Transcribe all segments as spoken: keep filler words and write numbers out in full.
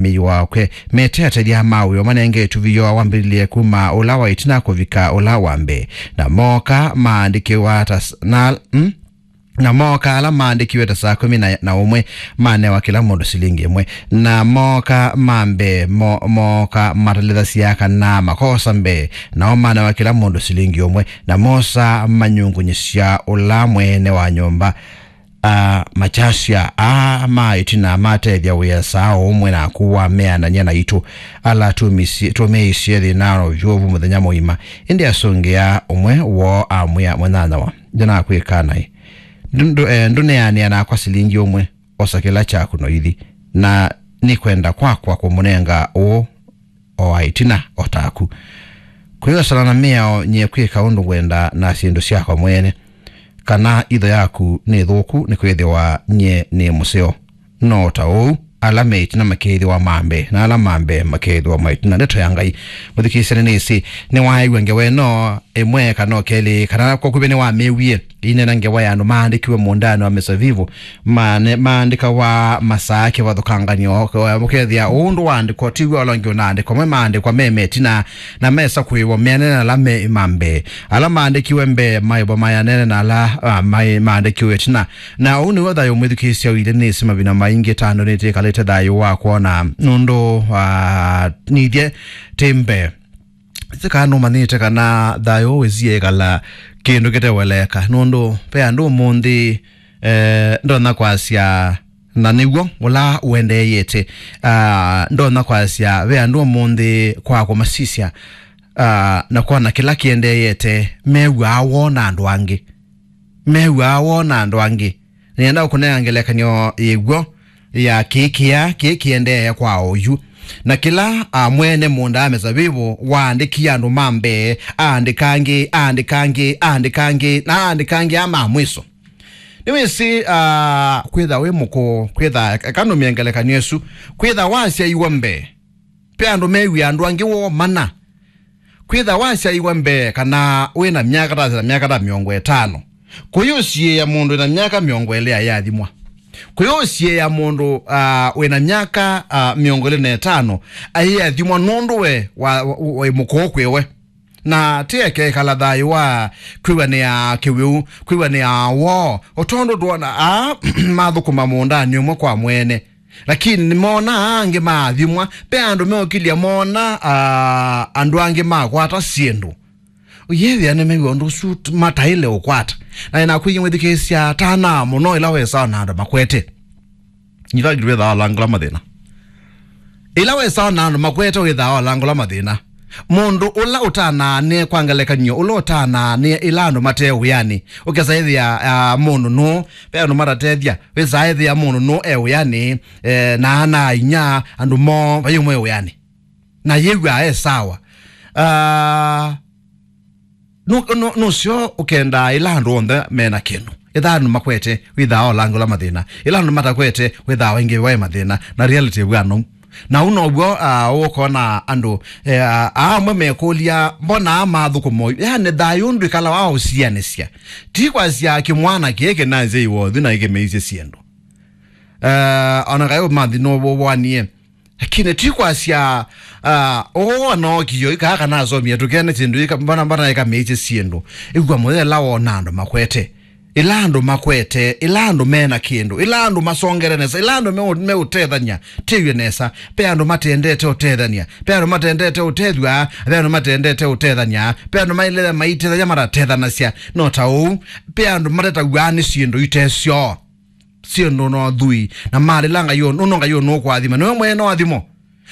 mĩĩ wakwe. Mete atethya ma wĩo manenge ĩtuvĩ yoo wambĩlĩlye kuma ũla wa ĩtina kũvika ũla wa mbee. Na mooka maandĩkĩwa ta s-, na, mm? Na mooka ala maandĩkiwe ta saa kũmi na, na ũmwe, manewa kĩla mũndũ silingi ĩmwe. Na mooka ma mbee, mo-, mooka matalĩthasya kana makosa mbee, nao manewa kĩla mũndũ silingi ũmwe. Na mosa manyungunyĩsya ũla mwene wa nyũmba, a, makyasya, aa ma ĩtina matethya wĩa saa ũmwe naku wameanany'a naitũ, ala tũmĩsye-, tũmĩisye thĩna na ũvyũvu mũthenya mũima. Ĩndĩ asũngĩa ũmwe woo amwĩa, "Mũnyanyawa, ndĩnakwĩka naĩ. Ndũ-, ndũ-, eh, ndũneanĩa nakwa silingi ũmwe, osa kĩla kyaku noithi, na nĩ kwenda kwakwa kũmũnenga ũũ o wa ĩtina o taku." Kwĩosana na mĩao nyie kwĩka ũndũ ngwenda na syĩndũ syakwa mwene, kana itho yaku nĩ thũku nĩkwĩthĩwa nyie nĩ mũseo. No ta ũu, ala me ĩtina makeĩthĩwa ma mbee, na ala ma mbee makeĩthĩwa ma ĩtina. Ndeto ya Ngai, mũthikĩĩsya, nĩnĩsĩ nĩwaaĩw'a ngewa ĩno ĩmwe kana o kelĩ, kana kwa kuvĩ nĩwamĩĩwie ĩineena ngewa ya andũ maandĩkiwe mũũndanĩ wa mĩsavivũ, mane-, maandĩkawa masaa kĩvathũkanganyo, ũkethĩa ũndũ waandĩkwa tiw'o ũla ũngĩ ũnaandĩkwa, amwe maandĩkwa me metina, na mesa kwĩw'a meanene na ala me ma mbee. Ala maandĩkiwe mbee maĩvwa mayanene na ala, ah, maĩ maandĩkiwe ĩtina. Na ũu nĩw'o thayũ mwĩthukĩĩsya ũilye nĩsĩ mavinda maingĩ tando nĩtĩkalĩte thayũ wa kwona nũndũ, ah, nithyĩ tĩ mbee. Sika nũmanyĩte kana thayũ wĩsie ĩkala kĩndũ kĩteweleka, nũndũ ve andũ ũmũnthĩ, eh, ndonya kwasya, na nĩw'o ũla ũendeeyete. Ah, ndonya kwasya ve andũ ũmũnthĩ kwa kũmasisya, ah, na kwona kĩla kĩendeeyete, mew'aa woo na andũ angĩ. Mew'aa woo na andũ angĩ. Nĩenda kũnenga ngelekany'o yĩw'o ya kĩĩ kĩya, kĩĩ kĩendee kwa oyu. Na kĩla, ah, mwene mũũnda wa mĩsavivũ waandĩkie andũ ma mbee, aandĩka angĩ, aandĩka angĩ, aandĩka angĩ, na aandĩka angĩ aa ma mwĩso. Nĩwĩsĩ, ah, kwĩtha wĩ mũkũũ, kwĩtha, eka nũmĩe ngelekany'o ĩsu, kwĩtha wasyaiwe mbee, ve andũ mew'aa andũ angĩ woo mana. Kwĩtha wasyaiwe mbee kana wĩ na myaka ta, na myaka ta mĩongo ĩtano, kũyũsiĩĩa mũndũ wĩ na myaka mĩongo ĩlĩ ayĩathimwa. Kũyũsiĩĩa mũndũ, ah, wĩ na myaka, ah, mĩongo ĩlĩ na ĩtano ayĩathimwa nũndũ we wa, wa, wĩ mũkũũ kwĩ we. Na ti ekekala thayũ wa kwĩw'anĩa kĩwĩu, kwĩw'anĩa woo, o tondũ twona aa mathũkũma mũũndanĩ ũmwe kwa mwene. Lakini nĩmonaa angĩ maathimwa, ve andũ meũkilya mona, ah, andũ angĩ makwata syĩndũ. Ũyĩthĩa nĩmew'a ũndũ ũsu t-, mataĩle ũkwata. Na ĩnakwĩie mwĩthukĩĩsya, tanaa mũno ĩla wesaa na andũ makwete. Nyitha ngĩtwĩthaa alangũla mathĩna. Ĩla wesaa na andũ makwete wĩthaa alangũla mathĩna. Mũndũ ũla ũtanaanĩe, kwa ngelekany'o, ũla ũtanaanĩe ĩla andũ mate wĩanĩ, ũkesa ĩthĩa, ah, mũndũ nũũ, ve andũ matatethya, wĩsaa ĩthĩa mũndũ nũũ e wĩanĩ, eh, na ana inya, andũ moo, vai ũmwe wĩanĩ. Na yĩw'aa e sawa. Ah, nũ-, nũ-, nũseo ũkendaa ĩla andũ onthe mena kĩndũ. Ĩthaa andũ makwete, wĩthaa olangũla mathĩna. Ĩla andũ matakwete, wĩthaa waingĩ waĩ mathĩna. Na reality ĩw'aa nou. Na ũu now'o, ah, ũkona andũ, eh, ah, amwe mekũlya, mbona aa mathũkũma ũyu? Yani, thayũ ndwĩkala wa ũsianĩsya. Ti kwasya kĩmwana kĩĩ kĩnanzya iwothu na ĩkĩmeisye syĩndũ. Eh, ona kaĩ ũmathi nũwũwanie. Lakini ti kwasya, ah, ũũ anookie ika kana asomie tũkene syĩndũ ika, mbona, mbona ĩkameisye syĩndũ. Ĩw'a mũthela wona andũ makwete. Ĩla andũ makwete, ĩla andũ mena kĩndũ, ĩla andũ masongere nesa, ĩla andũ meũ-, meũtethany'a, tĩw'e nesa. Pe andũ matendete ũtethany'a, pe andũ matendete ũtethw'a, pe andũ matendete ũtethany'a, pe andũ mailea maitethany'a matatethanasya. No ta ũu, pe andũ matetaw'aa nĩ syĩndũ ite syoo. Syĩndũ no thui, na malĩla Ngai ũũ, nũndũ Ngai ũũ nũkũathima, nĩwe mwene no athimo.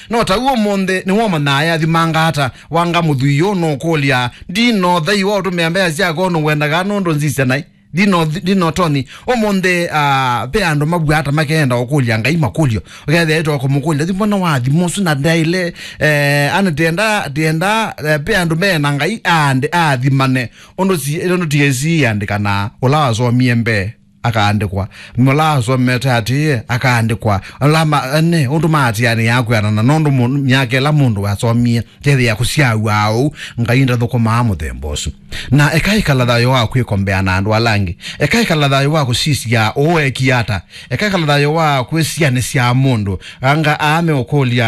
No ta ũu ũmũnthĩ, nĩwomanyaa eathimanga ata, wanga mũthwii ũũ nũkũlya, ndino thei wa ũtũmĩa mbesa syakwa ũndũ ngwendaga nũndũ nzisya naĩ. Ndino, ndino toni. Ũmũnthĩ, ah, ve andũ maw'aa ata makeenda ũkũlya Ngai makũlyo. Ũkethĩa ĩtwa kũmũkũlya, thimo na wathimo ũsu na ndaĩle, eh, ana tienda, tienda, eh, ve andũ mena Ngai, ande, athimane. Ũndũ si, ũndũ T S C yandĩkana, ũla wasomie mbee. akaandĩkwa. Ũla asomete atĩĩe, akaandĩkwa. Ũla ma-, ene, ũndũ maatĩanĩaa kwĩanana, nũndũ mũ-, myaka ĩla mũndũ wasomie, kethĩa kũsyawa ũu, Ngai ndathũkũmaa mũthemba ũsu. Na eka ĩkala thayũ wa kwĩkombea na andũ ala angĩ. Eka ĩkala thayũ wa kũsisya ũũ ekie ata. Eka ĩkala thayũ wa kwĩsianĩsya mũndũ. Anga aame ũkũlya